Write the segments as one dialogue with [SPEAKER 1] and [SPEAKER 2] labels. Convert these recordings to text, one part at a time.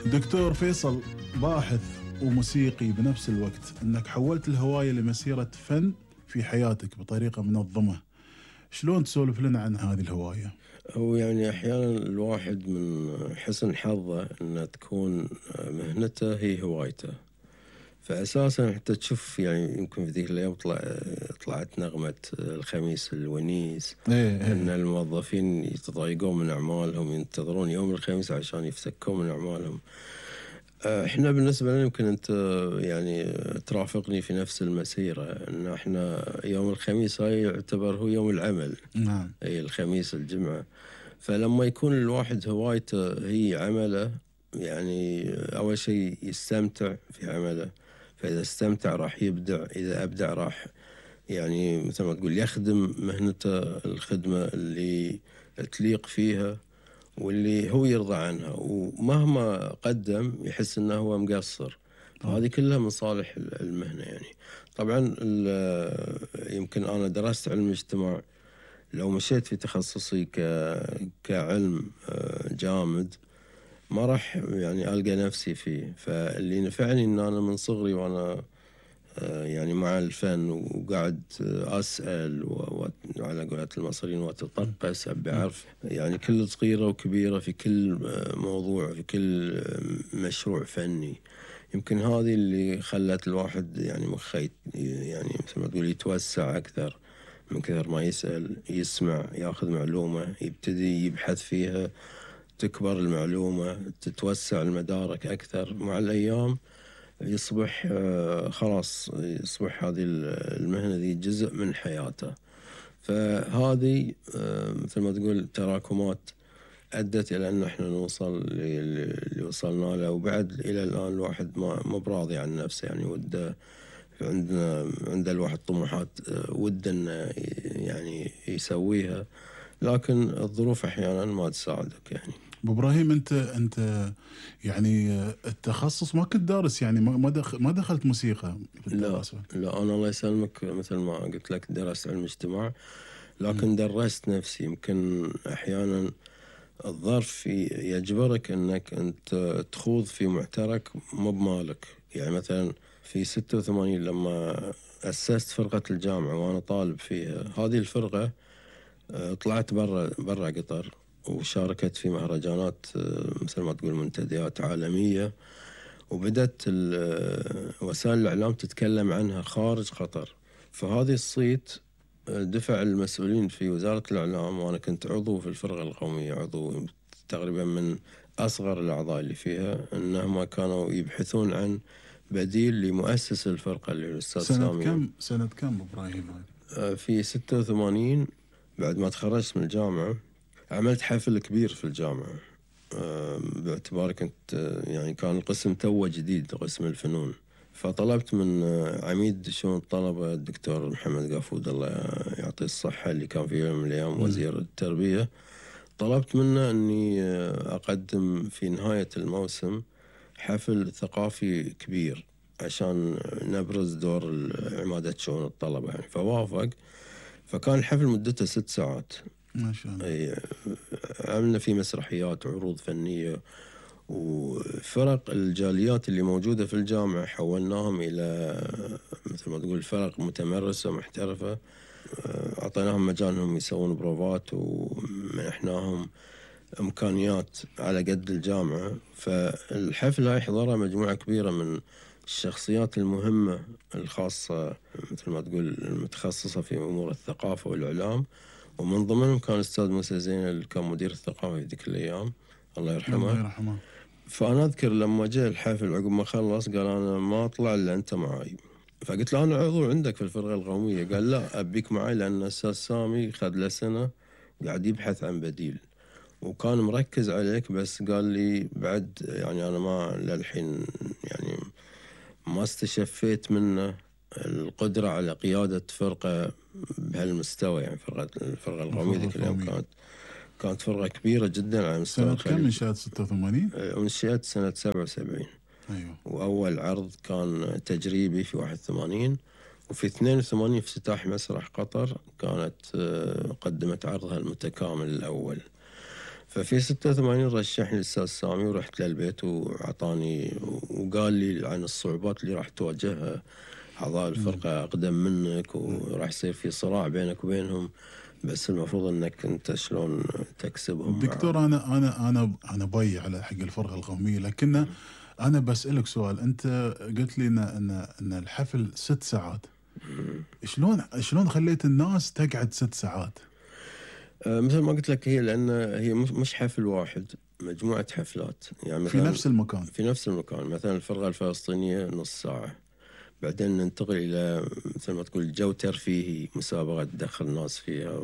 [SPEAKER 1] دكتور فيصل، باحث وموسيقي بنفس الوقت، انك حولت الهواية لمسيرة فن في حياتك بطريقة منظمة. شلون تسولف لنا عن هذه الهواية؟
[SPEAKER 2] هو يعني أحيانا الواحد من حسن حظه أن تكون مهنته هي هوايته، فأساسا حتى تشوف يعني يمكن في ذيك الأيام طلعت نغمة الخميس الونيس. أن الموظفين يتضايقون من أعمالهم، ينتظرون يوم الخميس عشان يفسكون من أعمالهم. احنا بالنسبة لنا يمكن انت يعني ترافقني في نفس المسيرة، ان احنا يوم الخميس هاي يعتبر هو يوم العمل.
[SPEAKER 1] نعم.
[SPEAKER 2] اي الخميس الجمعة. فلما يكون الواحد هوايته هي عمله، يعني اول شيء يستمتع في عمله، فاذا استمتع راح يبدع، اذا ابدع راح يعني مثل ما تقول يخدم مهنته الخدمة اللي تليق فيها واللي هو يرضى عنها، ومهما قدم يحس انه هو مقصر. فهذه كلها من صالح المهنة يعني. طبعا يمكن انا درست علم اجتماع، لو مشيت في تخصصي كعلم جامد ما راح يعني ألقى نفسي فيه. فاللي نفعني ان انا من صغري وانا يعني مع الفن وقاعد أسأل وعلى قولة المصريين وأتطقس، أبي أعرف يعني كل صغيرة وكبيرة في كل موضوع، في كل مشروع فني. يمكن هذه اللي خلت الواحد يعني مخيت يعني مثل ما تقول يتوسع أكثر، من كثر ما يسأل يسمع يأخذ معلومة يبتدي يبحث فيها، تكبر المعلومة تتوسع المدارك أكثر. مع الأيام يصبح خلاص يصبح هذه المهنة ذي جزء من حياته. فهذه مثل ما تقول تراكمات أدت إلى أن احنا نوصل اللي وصلنا له. وبعد إلى الآن الواحد ما براضي عن نفسه، يعني وده عند الواحد طموحات وده أنه يعني يسويها، لكن الظروف أحيانا ما تساعدك يعني.
[SPEAKER 1] ابو ابراهيم، انت يعني التخصص ما كنت دارس، يعني ما دخلت موسيقى في الدراسة؟
[SPEAKER 2] لا انا الله يسلمك مثل ما قلت لك درست علم اجتماع، لكن درست نفسي. يمكن احيانا الظرف يجبرك انك انت تخوض في معترك مو بمالك. يعني مثلا في 86 لما اسست فرقة الجامعة وانا طالب فيها، هذه الفرقة طلعت برا قطر وشاركت في مهرجانات مثل ما تقول منتديات عالمية، وبدأت وسائل الإعلام تتكلم عنها خارج قطر. فهذه الصيت دفع المسؤولين في وزارة الإعلام، وأنا كنت عضو في الفرقة القومية، عضو تقريبا من أصغر الأعضاء اللي فيها، أنهم كانوا يبحثون عن بديل لمؤسس الفرقة اللي هو الأستاذ سامي.
[SPEAKER 1] سنة كم إبراهيم؟
[SPEAKER 2] في 86 بعد ما تخرجت من الجامعة عملت حفل كبير في الجامعة، باعتباري كنت يعني كان القسم توه جديد، قسم الفنون. فطلبت من عميد شؤون الطلبة الدكتور محمد قافود الله يعطيه الصحة، اللي كان في يوم من الأيام وزير التربية، طلبت منه أني أقدم في نهاية الموسم حفل ثقافي كبير عشان نبرز دور عمادة شؤون الطلبة يعني. فوافق. فكان الحفل مدته 6 ساعات
[SPEAKER 1] ما شاء الله.
[SPEAKER 2] عملنا فيه مسرحيات وعروض فنية، وفرق الجاليات اللي موجودة في الجامعة حولناهم إلى مثل ما تقول فرق متمرسة محترفة. أعطيناهم مجال أنهم يسوون بروفات، ومنحناهم إمكانيات على قد الجامعة. فالحفل هاي حضرها مجموعة كبيرة من الشخصيات المهمة الخاصة مثل ما تقول المتخصصة في أمور الثقافة والإعلام، ومن ضمنهم كان الأستاذ موسى زين اللي كان مدير الثقافة في ذيك الأيام الله يرحمه.
[SPEAKER 1] الله يرحمه.
[SPEAKER 2] فأنا أذكر لما جاء الحفل عقب ما خلص قال أنا ما أطلع إلا أنت معاي. فقلت له أنا عضو عندك في الفرقة القومية. قال لا أبيك معاي، لأن الأستاذ سامي خذ له سنة قاعد يبحث عن بديل وكان مركز عليك. بس قال لي بعد يعني أنا ما للحين يعني ما استشفيت منه القدرة على قيادة فرقة بهالمستوى. يعني الفرقة القومية ذيك اليوم كانت فرقة كبيرة جدا على مستوى
[SPEAKER 1] الخليج. سنة كم انشأت؟ 86؟
[SPEAKER 2] انشأت سنة 77.
[SPEAKER 1] أيوه.
[SPEAKER 2] وأول عرض كان تجريبي في 81، وفي 82 افتتاح مسرح قطر كانت قدمت عرضها المتكامل الأول. ففي 86 رشحني الأستاذ سامي ورحت للبيت وأعطاني وقال لي عن الصعوبات اللي راح تواجهها أعضاء الفرقة أقدم منك، وراح يصير في صراع بينك وبينهم، بس المفروض أنك أنت شلون تكسبهم.
[SPEAKER 1] دكتور أنا باي على حق الفرقة القومية، لكن أنا بسألك سؤال. أنت قلت لي إن الحفل 6 ساعات. شلون خليت الناس تقعد 6 ساعات؟
[SPEAKER 2] مثل ما قلت لك، هي لأن هي مش حفل واحد، مجموعة حفلات يعني
[SPEAKER 1] في نفس المكان.
[SPEAKER 2] في نفس المكان. مثلا الفرقة الفلسطينية نص ساعة، بعدين ننتقل إلى مثل ما تقول جو ترفيهي، مسابقة تدخل الناس فيها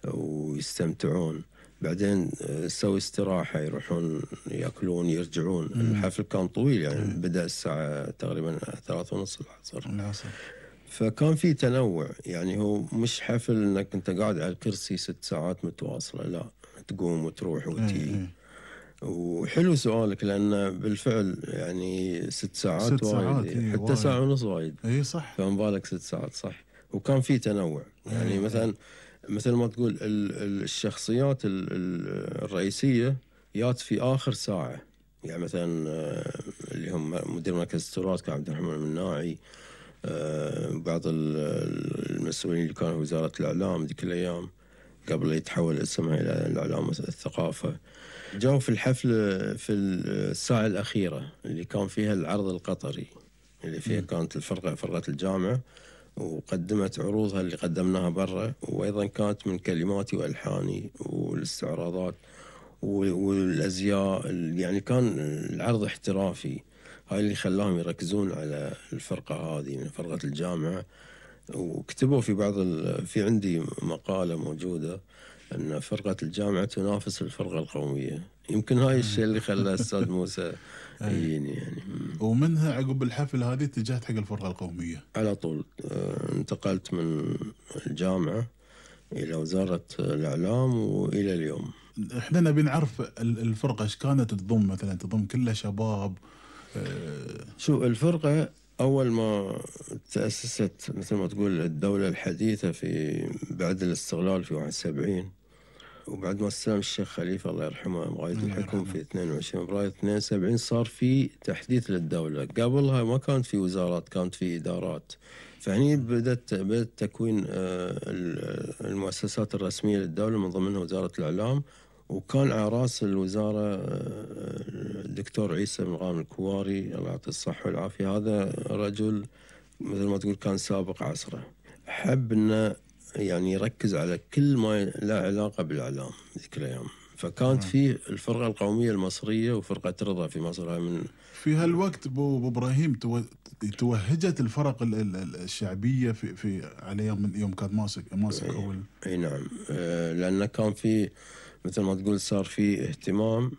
[SPEAKER 2] ويستمتعون، بعدين يسوي استراحة، يروحون يأكلون يرجعون. الحفل كان طويل يعني بدأ الساعة تقريبا 3:30 العصر. فكان في تنوع، يعني هو مش حفل انك انت قاعد على الكرسي 6 ساعات متواصلة، لا، تقوم وتروح وتجي. وحلو سؤالك، لأن بالفعل يعني 6 ساعات وايد، حتى
[SPEAKER 1] وايد.
[SPEAKER 2] 1.5 ساعة وايد.
[SPEAKER 1] اي صح.
[SPEAKER 2] فما بالك 6 ساعات، صح. وكان في تنوع، يعني مثلا مثل ما تقول الشخصيات الرئيسية جات في آخر ساعة، يعني مثلا اللي هم مدير مركز التراث كان عبد الرحمن المناعي، بعض المسؤولين اللي كانوا في وزارة الإعلام ذيك الأيام قبل يتحول اسمها إلى الإعلام الثقافة، جاءوا في الحفل في الساعة الأخيرة اللي كان فيها العرض القطري، اللي فيها كانت فرقة الجامعة، وقدمت عروضها اللي قدمناها برا، وأيضا كانت من كلماتي وألحاني والاستعراضات والأزياء، يعني كان العرض احترافي. هاي اللي خلاهم يركزون على الفرقة هذه من فرقة الجامعة. وكتبوا في في عندي مقالة موجودة أن فرقة الجامعة تنافس الفرقة القومية. يمكن هاي الشيء اللي خلى الأستاذ موسى يجيني يعني.
[SPEAKER 1] ومنها عقب الحفل هذه اتجهت حق الفرقة القومية
[SPEAKER 2] على طول. انتقلت من الجامعة إلى وزارة الإعلام وإلى اليوم.
[SPEAKER 1] احنا نبي نعرف الفرقة ايش كانت تضم، مثلا تضم كلها شباب؟
[SPEAKER 2] شو الفرقة أول ما تأسست مثل ما تقول الدولة الحديثة في بعد الاستقلال في 71، وبعد ما استلم الشيخ خليفة الله يرحمه مغاية الحكم في 22 فبراير 72، صار في تحديث للدولة. قبلها ما كانت في وزارات، كانت في إدارات. فهني بدأت تكوين المؤسسات الرسمية للدولة، من ضمنها وزارة الإعلام. وكان على رأس الوزارة الدكتور عيسى بن غانم الكواري الله يعطيه الصحة والعافية. هذا رجل مثل ما تقول كان سابق عصره، حب أنه يعني يركز على كل ما له علاقة بالإعلام ذيك الأيام. فكانت فيه الفرقة القومية المصرية وفرقة رضا في مصر. من
[SPEAKER 1] في هالوقت أبو إبراهيم توهجت الفرق الشعبية في على يوم كان ماسك أول.
[SPEAKER 2] أي نعم. لأن كان في مثل ما تقول صار في اهتمام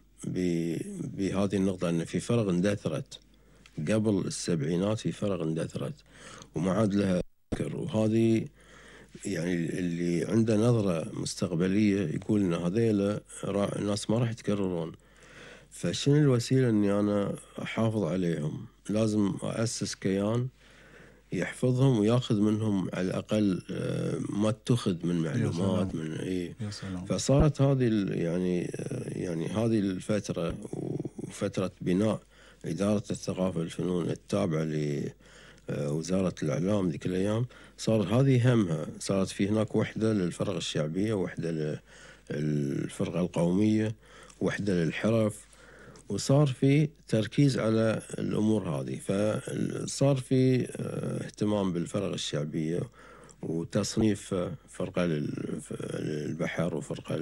[SPEAKER 2] بهذه النقطة، أن في فرق اندثرت قبل السبعينات، في فرق اندثرت وما عاد لها ذكر. وهذه يعني اللي عنده نظرة مستقبلية يقول إن هذيلا الناس ما راح يتكررون. فشنو الوسيلة إني أنا أحافظ عليهم؟ لازم أسس كيان يحفظهم وياخذ منهم على الأقل ما اتخذ من معلومات من فصارت هذه يعني هذه الفترة وفترة بناء إدارة الثقافة والفنون التابعة لوزارة الإعلام ذيك الأيام. صار هذه همها، صارت في هناك وحدة للفرق الشعبية، وحدة للفرقة القومية، وحدة للحرف، وصار في تركيز على الأمور هذه. فصار في اهتمام بالفرق الشعبية وتصنيف فرقة للبحر، وفرقة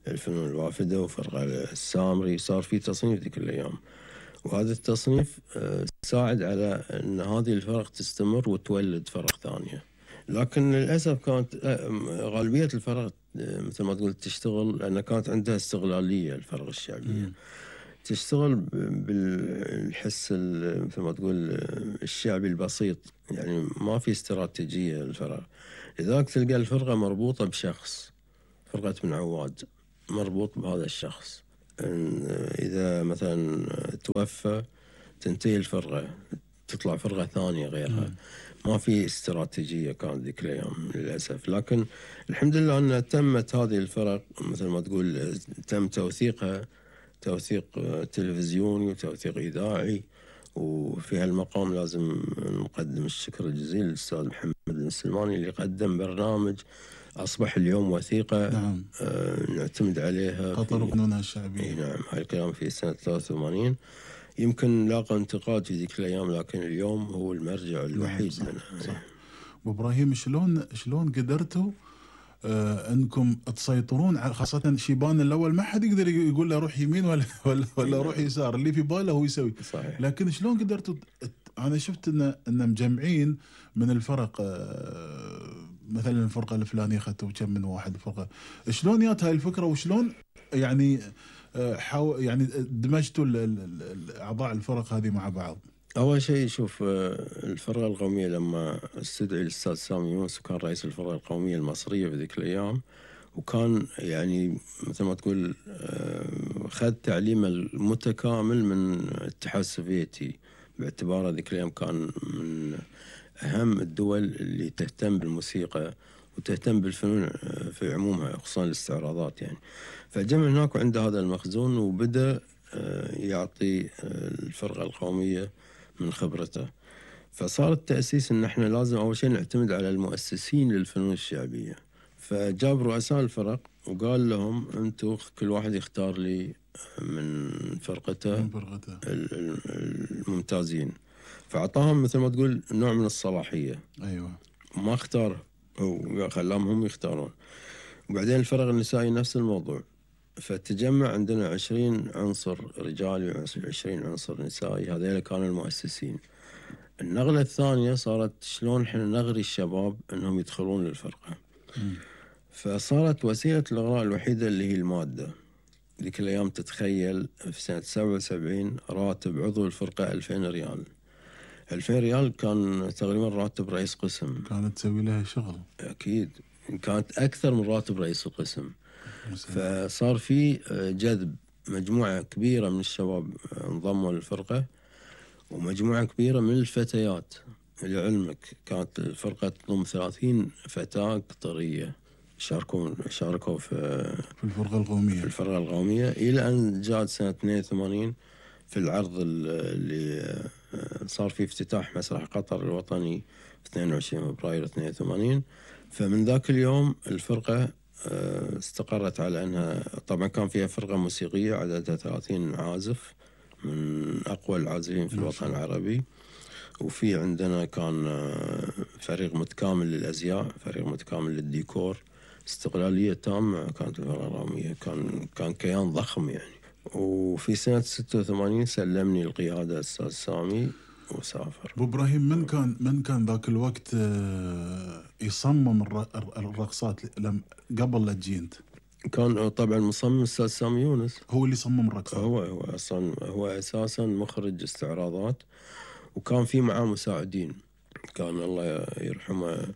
[SPEAKER 2] للفنون الوافدة، وفرقة السامري. صار في تصنيف ذيك الأيام، وهذا التصنيف ساعد على أن هذه الفرق تستمر وتولد فرق ثانية. لكن للأسف كانت غالبية الفرق مثل ما تقول تشتغل لأن كانت عندها استغلالية. الفرق الشعبية تشتغل بالحس مثل ما تقول الشعبي البسيط، يعني ما في استراتيجية للفرق. لذلك تلقى الفرقة مربوطة بشخص، فرقة بن عواد مربوط بهذا الشخص. إذا مثلا توفى تنتهي الفرقة، تطلع فرقة ثانية غيرها. ما في استراتيجية كانت ذيك الأيام للأسف. لكن الحمد لله أن تمت هذه الفرق مثل ما تقول تم توثيقها توثيق تلفزيوني وتوثيق إذاعي. وفي هالمقام لازم نقدم الشكر الجزيل للأستاذ محمد السلماني اللي قدم برنامج أصبح اليوم وثيقة.
[SPEAKER 1] نعم.
[SPEAKER 2] نعتمد عليها
[SPEAKER 1] خطر قانونها الشعبية.
[SPEAKER 2] نعم. هاي الكلام في سنة 83. يمكن لاقى انتقاد في ذيك الأيام لكن اليوم هو المرجع الوحيد
[SPEAKER 1] نعم.
[SPEAKER 2] لنا.
[SPEAKER 1] صح. وإبراهيم شلون قدرتوا انكم تسيطرون على خاصه شيبان الاول ما حد يقدر يقول له روح يمين ولا روح يسار، اللي في باله هو يسوي.
[SPEAKER 2] صحيح.
[SPEAKER 1] لكن شلون قدرتوا انا شفت ان مجمعين من الفرق، مثلا الفرقه الفلانيه اخذتوا كم من واحد فرقه، شلون جات هاي الفكره وشلون يعني يعني دمجتوا اعضاء الفرق هذه مع بعض؟
[SPEAKER 2] أول شيء شوف الفرقة القومية لما استدعي الأستاذ سامي يونس وكان رئيس الفرقة القومية المصرية في ذيك الأيام، وكان يعني مثل ما تقول خذ تعليم المتكامل من الاتحاد السوفيتي باعتباره ذيك الأيام كان من أهم الدول اللي تهتم بالموسيقى وتهتم بالفنون في عمومها خصوصا الاستعراضات يعني. فجمع هناك وعنده هذا المخزون وبدأ يعطي الفرقة القومية من خبرته. فصار التأسيس إن إحنا لازم أول شيء نعتمد على المؤسسين للفنون الشعبية. فجاب رؤساء الفرق وقال لهم أنتوا كل واحد يختار لي من فرقته الممتازين. فأعطاهم مثل ما تقول نوع من الصلاحية.
[SPEAKER 1] أيوة.
[SPEAKER 2] ما اختار هو، خلاهم هم يختارون. وبعدين الفرق النسائي نفس الموضوع. فتجمع عندنا 20 عنصر رجالي و20 عنصر نسائي، هذول كانوا المؤسسين. النقلة الثانية صارت شلون احنا نغري الشباب انهم يدخلون للفرقة. فصارت وسيلة الإغراء الوحيدة اللي هي المادة. ذيك الأيام تتخيل في سنة 77 راتب عضو الفرقة 2000 ريال. 2000 ريال كان تقريبا راتب رئيس قسم.
[SPEAKER 1] كانت تسوي لها شغل.
[SPEAKER 2] أكيد كانت أكثر من راتب رئيس القسم. فصار في جذب مجموعة كبيرة من الشباب انضموا للفرقة ومجموعة كبيرة من الفتيات. لعلمك كانت الفرقة تضم 30 فتاة قطرية شاركوا في الفرقة القومية إلى أن جاءت سنة 82 في العرض اللي صار فيه افتتاح مسرح قطر الوطني في 22 فبراير 82. فمن ذاك اليوم الفرقة استقرت على أنها طبعا كان فيها فرقة موسيقية عددها 30 عازف من أقوى العازفين في الوطن العربي. وفي عندنا كان فريق متكامل للأزياء، فريق متكامل للديكور، استقلالية تامة كانت الفرقة القومية. كان كيان ضخم يعني. وفي سنة 86 سلمني القيادة الأستاذ سامي وسافر.
[SPEAKER 1] أبو إبراهيم من كان ذاك الوقت يصمم الرقصات قبل لا تجي أنت؟
[SPEAKER 2] كان طبعا مصمم الأستاذ سامي يونس،
[SPEAKER 1] هو اللي صمم الرقصات.
[SPEAKER 2] هو أساسا مخرج استعراضات، وكان في معاه مساعدين. كان الله يرحمه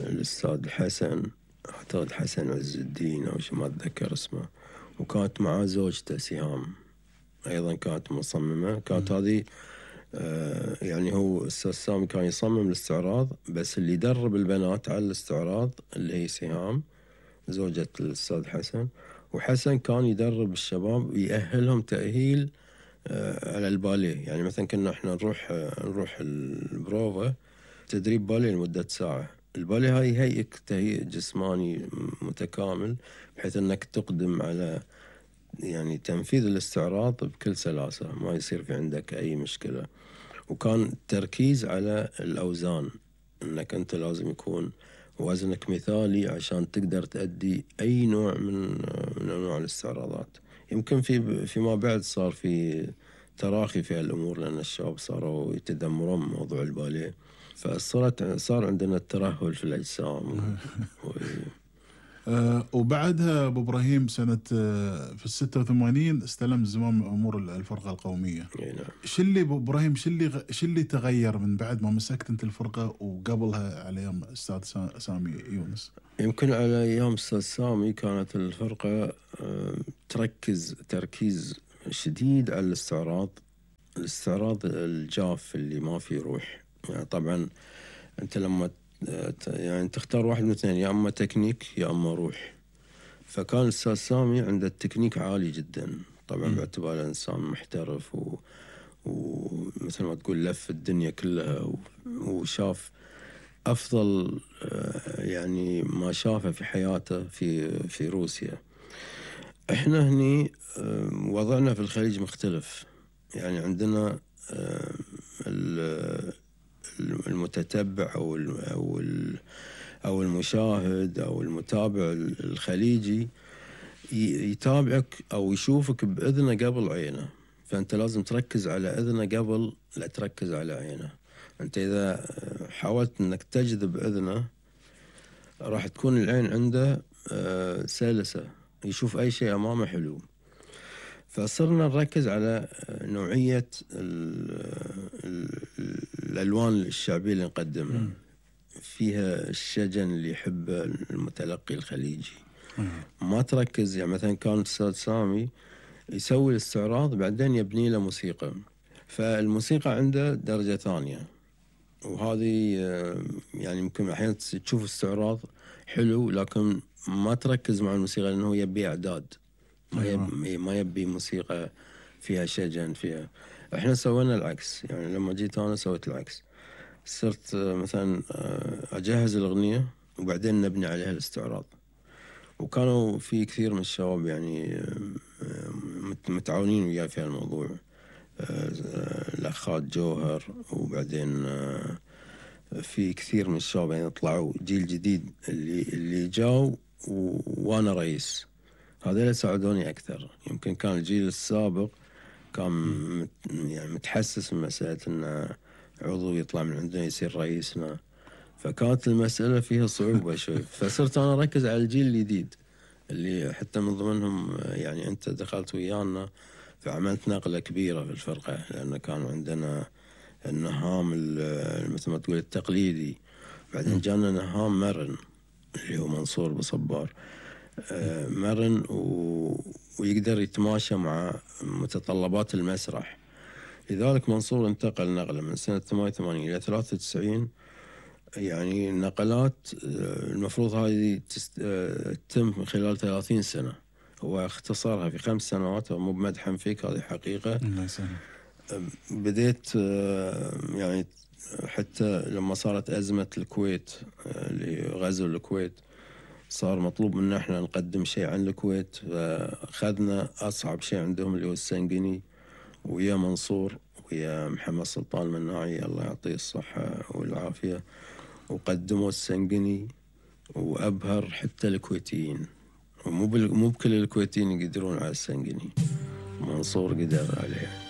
[SPEAKER 2] الأستاذ حسن، أعتقد حسن عز الدين أو شيء ما أتذكر اسمه، وكانت معاه زوجته سهام أيضا كانت مصممة. كانت هذه يعني هو الأستاذ سامي كان يصمم الاستعراض، بس اللي يدرب البنات على الاستعراض اللي هي سهام زوجة الأستاذ حسن. وحسن كان يدرب الشباب ويأهلهم تأهيل على الباليه. يعني مثلا كنا احنا نروح البروفا تدريب باليه لمدة ساعة. الباليه هاي هيئك تهيئ جسماني متكامل بحيث انك تقدم على يعني تنفيذ الاستعراض بكل سلاسة، ما يصير في عندك اي مشكلة. وكان تركيز على الاوزان، انك انت لازم يكون وزنك مثالي عشان تقدر تأدي اي نوع من انواع الاستعراضات. يمكن فيما بعد صار في تراخي في هالامور لان الشباب صاروا يتذمرون من موضوع الباليه، فصار عندنا الترهل في الاجسام.
[SPEAKER 1] وبعدها ابو ابراهيم سنه في 86 استلم زمام امور الفرقه القوميه.
[SPEAKER 2] نعم.
[SPEAKER 1] شو اللي ابو ابراهيم شو اللي تغير من بعد ما مسكت انت الفرقه وقبلها على ايام استاذ سامي يونس؟
[SPEAKER 2] يمكن على ايام استاذ سامي كانت الفرقه تركز تركيز شديد على الاستعراض. الاستعراض الجاف اللي ما فيه روح. يعني طبعا أنت لما يعني تختار واحد من اثنين، يا أما تكنيك يا أما روح. فكان الأستاذ سامي عنده التكنيك عالي جدا طبعا باعتباره إنسان محترف ومثل ما تقول لف الدنيا كلها وشاف أفضل يعني ما شافه في حياته في روسيا. إحنا هني وضعنا في الخليج مختلف. يعني عندنا المتتبع أو المشاهد أو المتابع الخليجي يتابعك أو يشوفك بإذنه قبل عينه، فأنت لازم تركز على إذنه قبل لا تركز على عينه. أنت إذا حاولت أنك تجذب إذنه راح تكون العين عنده سلسة، يشوف أي شيء أمامه حلو. فصرنا نركز على نوعية الألوان الشعبية اللي نقدمها، فيها الشجن اللي يحبه المتلقي الخليجي. ما تركز يعني مثلا كان الأستاذ سامي يسوي الاستعراض بعدين يبني له موسيقى، فالموسيقى عنده درجة ثانية. وهذه يعني يمكن أحيانا تشوف استعراض حلو لكن ما تركز مع الموسيقى لأنه يبي إعداد، ما يبي موسيقى فيها شجن فيها. احنا سوينا العكس. يعني لما جيت أنا سويت العكس، صرت مثلا أجهز الأغنية وبعدين نبني عليها الاستعراض. وكانوا في كثير من الشباب يعني متعاونين وياي في الموضوع، الأخات جوهر، وبعدين في كثير من الشباب يعني طلعوا جيل جديد اللي جاوا وأنا رئيس. هذول ساعدوني أكثر. يمكن كان الجيل السابق كان يعني متحسس من مسألة أن عضو يطلع من عندنا يصير رئيسنا، فكانت المسألة فيها صعوبة شوي. فصرت أنا أركز على الجيل الجديد اللي حتى من ضمنهم يعني أنت دخلت ويانا، فعملت نقلة كبيرة في الفرقة، لأن كان عندنا النهام مثل ما تقول التقليدي، بعدين جانا نهام مرن اللي هو منصور بصبار، مرن ويقدر يتماشى مع متطلبات المسرح. لذلك منصور انتقل نقلة من سنة 88 إلى 93. يعني النقلات المفروض هذه تتم خلال 30 سنة، هو اختصرها في 5 سنوات. مو بمدحا فيك، هذه حقيقة.
[SPEAKER 1] الله يسلمك.
[SPEAKER 2] بديت يعني حتى لما صارت أزمة الكويت اللي غزو الكويت، صار مطلوب منا احنا نقدم شيء عن الكويت، فأخذنا أصعب شيء عندهم اللي هو السنقني، ويا منصور ويا محمد سلطان المناعي الله يعطيه الصحة والعافية، وقدموا السنقني وأبهر حتى الكويتيين. ومو بكل الكويتيين يقدرون على السنقني، منصور قدر عليه.